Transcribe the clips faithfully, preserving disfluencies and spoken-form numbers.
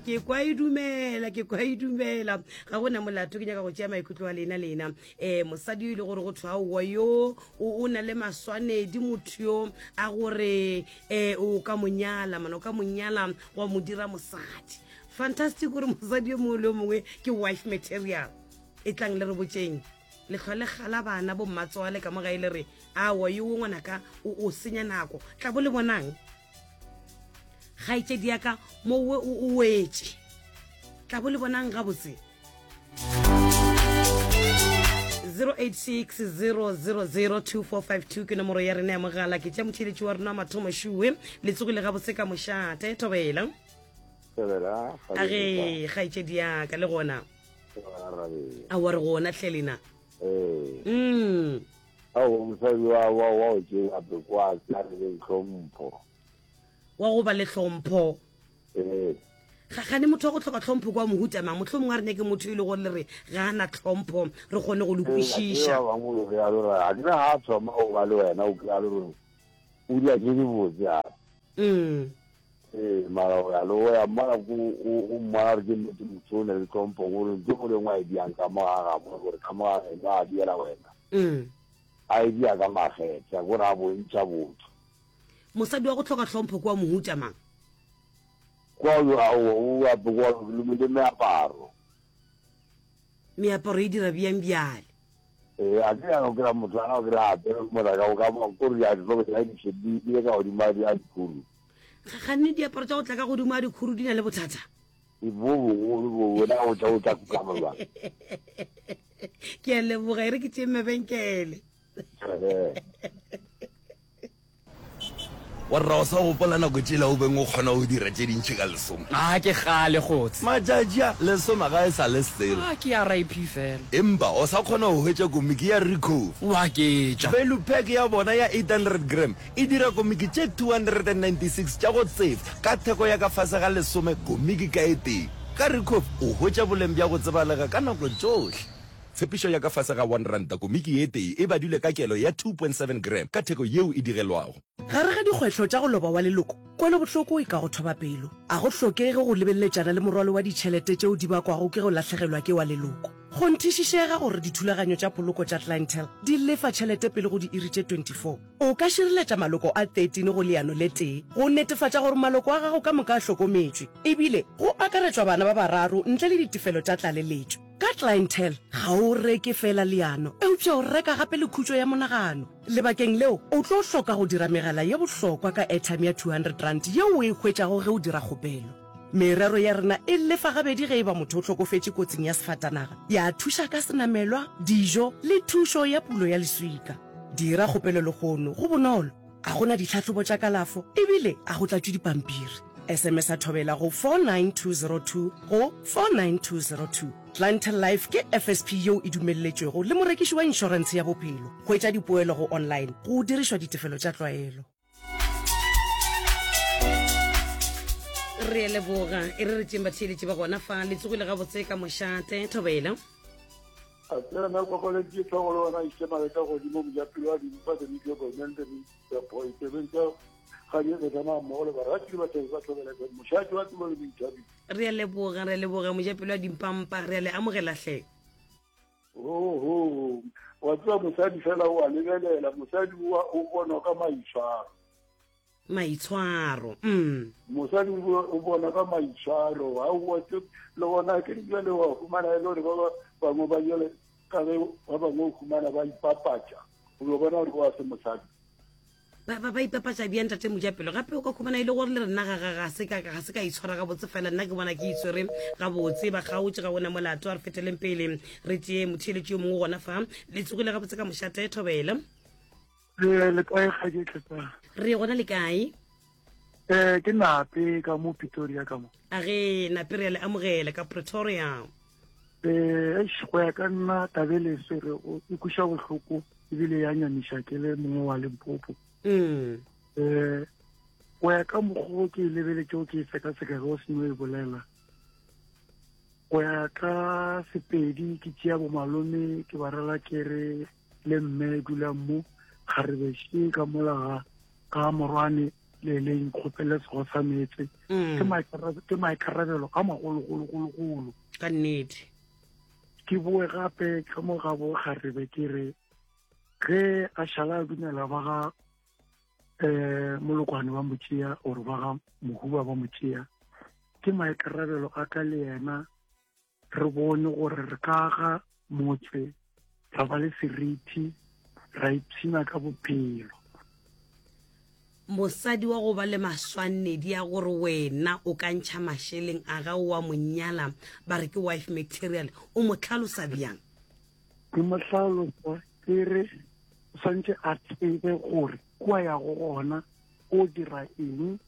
Ke kwa e dumela, ke kwa e dumela. Ga gona molato, ke nyaka go tšea maikutlo a lena lena. Um mosadi yo e le gore go thwe aowa yo o na le maswanedi, motho yo a gore um o ka mo nyala, mana o ka mo nyala wa mo dira mosadi. Fantastic gore mosadi yo mongwe le yo mongwe ke wife material. E tlang le re botšeng. Le hlwa le gala bana bo mmatswale ka mo gae le re aowa yo ngwanaka o o senya nako. Tla bo le bonang. Kgaetšedi ya ka mo o o wetše. Tla bo le bonang gabotse. zero eight six zero zero zero two four five two ke nomoro ya rena ya mogala. Ke tša motheeletši wa rena wa mathomo šuwe. Le tsogile gabotse ka mošate. Thobela. Thobela. A ge kgaetšedi ya ka le gona. A wa re gona hle lena. Ee. Mm. Ao mosadi wa wa wa o tšea pekwa tsa re hlompho. Wa go ba le hlompho. Ee. Ga gane motho wa go hloka tlhompho kwa mohuta mang, mohlomongwe a re nyake motho e le gore le re ga a na tlhompho, re kgone go le kwešiša. Ba bangwe o kry-a le gore a kere ga a thoma go ba le wena o kry-a le gore o dira tše dibotse gape. Mm. Ee, mara o ya le o ya mmona ko o mmona gore ke nnete motho o ne le tlhompho, gore ntho e lengwe a e diang ka mo ga gagwe, gore ka mo ga geno a diela wena. Mm. A e dia ka makgethe, gore a bontšha botho. Mosadi wa go hloka tlhompho kwa mohuta mang? Kwa o o ape kwa le meaparo. Meaparo e dira bjang bjale? Ee, a ke ya go kry-a motho a go kry-a apere mola ka ka kore di a di hloka di di di ka godimo a dikhuru. Ganne diaparo tša go tla ka godimo a dikhuru di na le bothata? E bo bogolo bo wena o tla o tla kukama jwang? Ke a leboga, e re ke tšee mabenkele. Wa rra o sa gopola nako tšela o beng o kgona go dira tše dintši ka lesome? A ke kgale kgotse. Matšatši a, lesome ga e sa le selo. A ke R I P fela. Empa o sa kgona go hwetša komiki ya Recove. Wa ketša. Value pack ya bona ya eight hundred gram e dira komiki tše two hundred and ninety six tša go tsefa ka theko ya ka fase ga lesome komiki ka e tee. Ka Recove o hwetša boleng bja go tsebalega ka nako tšohle. Tshepišo ya ka fase ga one ranta komiki ye tee e badilwe ka kelo ya two point seven gram ka theko yeo e digelwago. Gare ga dikgwehlo tša go loba wa leloko, kwelobohloko e ka go thoba pelo. A go hlokege go lebeleletšana le morwalo wa ditšhelete tšeo di bakwago ke go lahlegelwa ke wa leloko. Kgonthišišega gore dithulaganyo tša poloko tša Clientele di lefa tšhelete pele go diiri tše twenty four. O ka šireletša maloko a thirteen go leano le tee go netefatša gore maloko a gago ka moka a hlokometšwe, ebile go akaretšwa bana ba bararo ntle le ditefelo tša tlaleletšo. Ka Clientele, ga o reke feela leano, eupša o reka gape le khutšo ya monagano. Lebakeng leo, o tlo hloka go dira megala ye bohlokwa ka airtime ya two hundred rand yeo o e hwetšago ge o dira kgopelo. Merero ya rena e lefa gabedi ge e ba motho o hlokofetše kotsing ya sefatanaga, ya thuša ka senamelwa, dijo le thušo ya pulo ya leswika. Dira kgopelo lehono, go bonolo, ga go na ditlhahlobo tša kalafo ebile ga go tlatšwe dipampiri. S M S a thobela go four nine two zero two go four nine two zero two. Clientele Life ke F S P yeo e dumelletšwego le morekiši wa inšorentshe ya bophelo. Hwetša dipoelo go online go dirišwa ditefelo tša tlwaelo. Re a leboga. E re re tšeng batheeletši ba gona fa. Le tsogile gabotse ka mošate. Thobela. A tsena nna kokoleditše tlhogo le wena iše mabeka godimo mojapelo wa dimpa the media government the boy tsebeng tša ga di re mmogo le barati le batho ba thobela mošate wa tsebo le boithabišo. Re a leboga, re a leboga mojapelo wa dimpampa, re a le amogela hle. Oho, wa tseba mosadi fela o a lebelela, mosadi o bonwa ka maitshwaro. Maitshwaro, mm. Mosadi o bona ka maitshwaro, ha o tse le gona ke jwale wa fumana e le gore ba bangwe ba jwale ka ge ba bangwe o fumana ba ipapatša, o bo bona gore wa se mosadi. Ba ba ba ipapatša bjang tate mojapelo? Gape o ka khumana e le gore le rena ga ga ga se ka ga se ka itshwara gabotse fela, nna ke bona ke itshwere gabotse, ba kgaotše ga ona molato. A re feteleng pele re tšee motheeletši yo mongwe gona fa. Le tsogile gabotse ka mošate. Thobela. Le le kae kgaetšedi Tletana? Re gona le kae? Eh ke Nape ka mo Pretoria ka mo. A ge Nape re a le amogela ka Pretoria. Eh eish, go ya ka nna tabele se re o e kweša bohloko ebile ya nyamiša ke le mongwe wa Limpopo. Mm. Eh go ya ka mokgwa o ke e lebeletšego ke e sekaseka ge o seno e bolela. Go ya ka Sepedi ke tšea bo malome ke ba rela ke re le mme dulang mo kgarebešhe ka mola ga ka morwane le le nkgopele sego sa meetse. Mm. Ke maikarabelo, ke maikarabelo a magologologologolo. Ka nnete. Ke boe gape ka mo ga bo kgarebe ke re ge a šala a dumela ba ga eh molokwane ba mo tšea or ba ga mohuba ba mo tšea, ke maikarabelo a ka le yena re bone gore re ka aga motse, ra ba le seriti, ra ipshina ka bophelo. Mosadi wa go ba le maswanedi a gore wena o ka ntšha mašeleng a gago wa mo nyala, ba re ke wife material, o mo hlalosa bjang? Ke mo hlalosa ke re o swantše a tsebe gore kua yago gona o dira eng,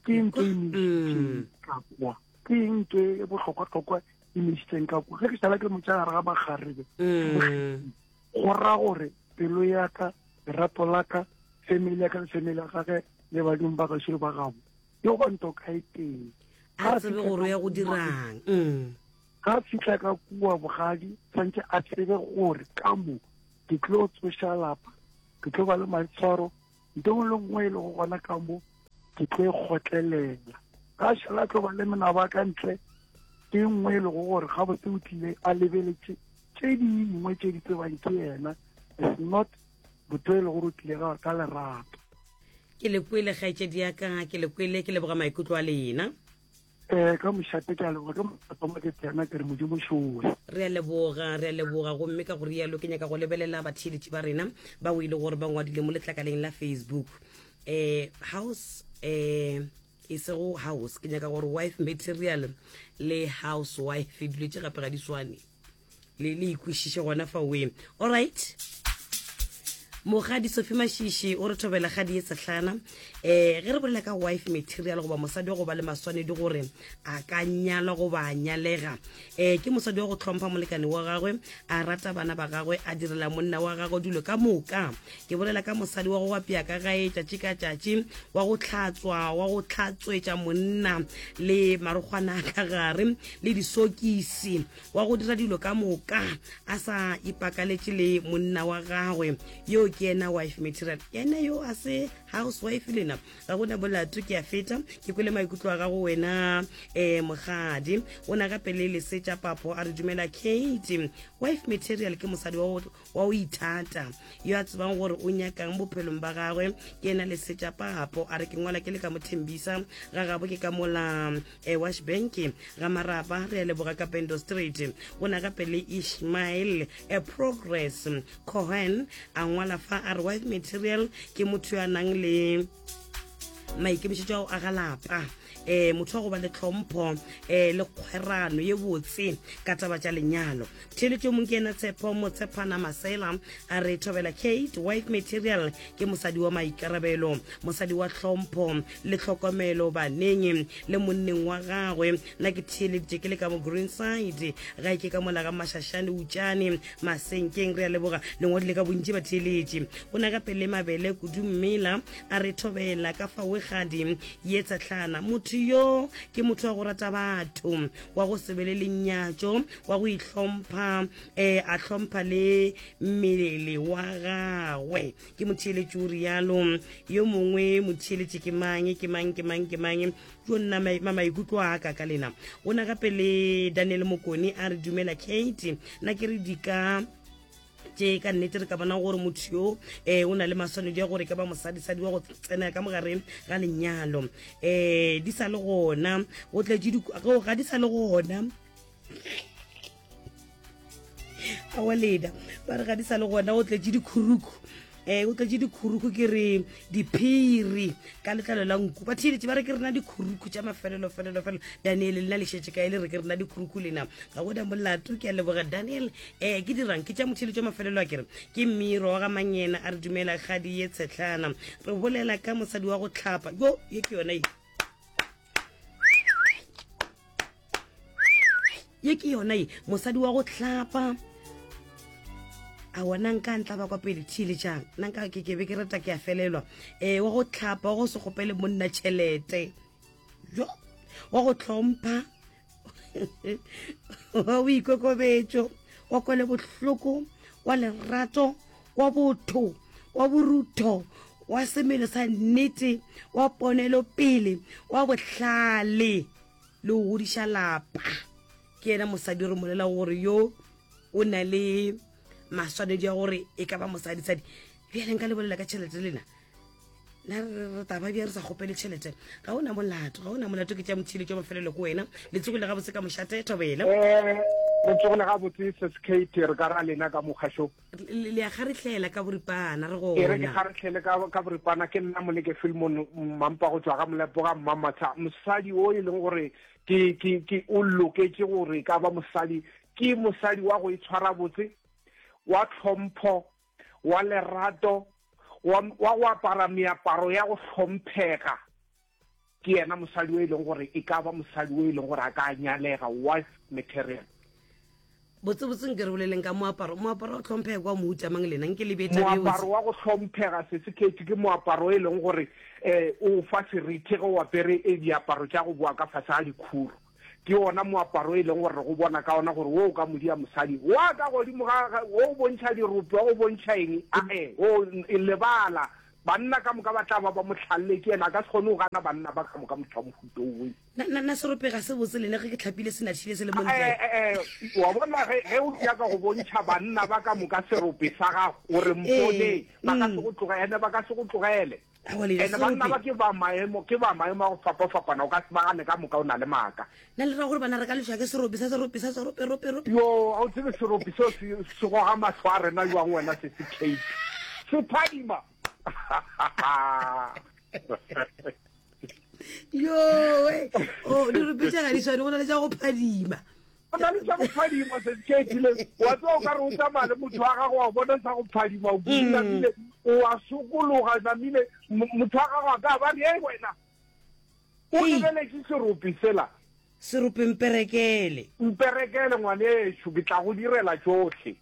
ke eng e mo isitšeng ka kwa, ke eng e bohlokwa-hlokwa e mo isitšeng ka kwa. Ge ke šala ke mo tšea gare ga makgarebe, go ra gore pelo ya ka, lerato la ka, family ya ka le family ya gage le badimo ba gešo le ba gabo, yo ba nto ka e tee. A tsebe gore o ya go dirang. Mm. Ga fihla ka kua bogadi, tshwantše a tsebe gore ka mo ke tlo tsoša lapa, ke tlo ba le maitshwaro, ntho nngwe le nngwe e lego gona ka mo ke tlo e kgotlelela. Ga šala tlo ba le menaba ka ntle, ke nngwe e lego gore gabotse o tlile a lebeletše tše dingwe tše di tsebang ke yena. It's not motho e le gore o tlile ka, ka lerato. Ke le kwele kgaetšedi ya ka, ke le kwele, ke leboga maikutlo a lena. Eh, ka mošate ke a leboga, ke mošate mo ke tsena ke re Modimo šowe. Re a leboga, re a leboga. Gomme ka go rialo ke nyaka go lebelela batheeletši ba rena ba o ile gore ba ngwadile mo letlakaleng la Facebook. Eh, house, eh, e sego house, ke nyaka gore wife material le housewife dilo tše gape ga di swane. Le, le ikwešiše gona fa oe. All right. Mogadi Sophie Mashishi o re thobela gadi ye sehlana. Eh, ge re bolela ka wife material goba mosadi wa go ba le maswanedi gore a ka nyalwa goba a nyalega, eh, ke mosadi wa go hlompha molekane wa gagwe, a rata bana ba gagwe, a direla monna wa gagwe dilo ka moka. Ke bolela ka mosadi wa go apea ka gae tšatši ka tšatši, wa go hlatswa, wa go hlatswetša monna le marokgwana a ka gare le disokisi, wa go dira dilo ka moka a sa ipakaletše le monna wa gagwe. Yo ke yena wife material, yena yo a se housewife lena. Ga gona molato, ke a feta ke kwele maikutlo a gago wena, eh, mogadi. O na gape le lesetša papo a re dumela Kate. Wife material ke mosadi wa go, wa go ithata, yo a tsebang gore o nyakang bophelong ba gagwe. Ke yena lesetša papo a re ke ngwala ke le ka mo Thembisa ga gabo, ke ka mola, eh, Wash Bank ga Marapa. Re a leboga ka Pendo Street. O na gape le Ishmael, eh, Progress Cohen a ngwala fa a re wife material ke motho yo a nang le maikemišetšo a go aga lapa, eh, motho wa go ba le tlhompho, eh, le kgwerano ye botse ka taba tša lenyalo. Theeletšo mong ke yena Tshepo Motshepana Masela a re thobela Kate. Wife material ke mosadi wa maikarabelo, mosadi wa tlhompho le tlhokomelo baneng le monneng wa gagwe. Nna ke theeleditše ke le ka mo Greenside, gae ke ka mola ga Mašašane Utšane Masenkeng. Re a leboga, lengwadile ka bontši ba theeletše. Go na gape le Mabele Kudu Mmela a re thobela ka fawegadi ye tsehlana. Motho yo ke motho wa go rata batho, wa go se be le lenyatšo, wa go ihlompha, eh, a hlompha le mmele wa gagwe. Ke motheeletši o rialo. Yo mongwe motheeletši ke mang, ke mang, ke mang, ke mang? Jo nna ma-, maikutlo a ka ka lena. O na gape le Daniel Mokone a re dumela Kate. Nna ke re di ka tše ka nnete re ka bona gore motho yo, eh, o na le maswanedi a gore ka ba mosadisadi wa go tsena ka mogare ga lenyalo. Eh, di sa le gona, go tletše di, go, ga di sa le gona. Aowa lena, ba re ga di sa le gona, go tletše dikhuruku. Eh, o tletše dikhuruku, ke re diphiri ka letlalo la nku. Ba theeletše ba re ke rena dikhuruku tša mafelelo, felelo, felelo. Daniel, lena le šetše kae le re ke rena dikhuruku lena? Ga gona molato, ke a leboga Daniel. Eh, ke dirang ke tša motheeletši wa mafelelo a ke re ke Mmiro wa ga Manyena a re dumela kgadi ye tshetlana. Re bolela ka mosadi wa go hlapa. Yo, ye ke yona ye. Ye ke yona ye, mosadi wa go hlapa. A wona nka ntla ba kwa pele theeletšang. Nna nka ke ke be ke rata ke a felelwa. Eh, wa go hlapa, wa go se kgopele monna tšhelete. Jo, wa go hlompha. Wa boikokobetšo, wa kwele bohloko, wa lerato, wa botho, wa borutho. wa semelo sa nnete, wa ponelopele, wa bohlale le go godiša lapa. Ke yena mosadi re molela gore yo o na le maswanedi a gore e ka ba mosadisadi. Bjale nka le bolela ka tšhelete lena. Na re taba bja re sa kgopele tšhelete. Ga o na molato, ga o na molato ke tša motšhile tša mafelelo ko wena. Le tsogile gabotse ka mošate thobela. Eh, re tsogile gabotse Seskate re ka ra lena ka mokgašo. Le a kgarehlela ka boripana re gona. E re ke kgarehlele ka ka boripana ke nna Moleke Filmon Mampa go tšwa ga Molepo ga Mmamatsha. Mosadi o e leng gore ke ke ke o loketše gore ka ba mosadi ke mosadi wa go itshwara botse, wa tlhompho, wa lerato, wa wa go apara meaparo ya go hlomphega. Ke yena mosadi o e leng gore e ka ba mosadi o e leng gore a ka nyalega, wife material. Botsebotse nke re boleleng ka moaparo. Moaparo wa go hlomphega kwa mohuta mang lena? Nke le bee taba ye Moaparo wa go hlomphega Sesekhethu ke moaparo e leng gore um o fa seriti ge o apere diaparo tša go boa ka fase ga dikhuru. Ke ona moaparo e leng gore re go bona ka ona gore wo o ka modia mosadi wa ka godimo ga wo o bontšha dirope, wa go bontšha eng, ae o lebala banna ka moka ba tla ba ba mo hlalle ke yena, a ka se kgone go gana banna ba ka moka motho wa mohuta owe. Na, na, na serope ga se botse lena ge ke hlapile se nathile se le mo ntle? Eh, eh, eh, wa bona ge, ge o nyaka go bontšha banna ba ka moka serope sa gago gore mpone, ba ka se go tlogele, ene ba ka se go tlogele. Ene banna ba ke ba maemo, ke ba maemo a go fapafapana, o ka se ba gane ka moka o na le maaka. Na le ra gore bana re ka lešwa ke serope sa serope sa serope rope rope? Yo, ga o tsebe serope seo se, se goga mahlo a rena jwang wena se se Kate. Se phadima. Yo, we. Oh, dirope tša ga di swane, go na le tša go phadima. Go na le tša go phadima se Kate le wa tseba o ka re o tsamaya le motho wa gago wa bona sa go phadima o namile o a sokologa namile motho wa gago a ka ba re ei wena o lebeletše serope sela. Serope mperekele. Mperekele ngwanešu, ke tla go direla tšohle.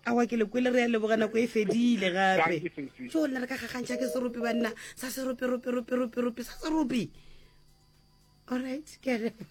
Awa ke le kwele, re a leboga, nako e fedile gape. Jo nna re ka gagantšha ke serope banna, sa serope rope rope rope rope sa serope. All right, ke a leboga.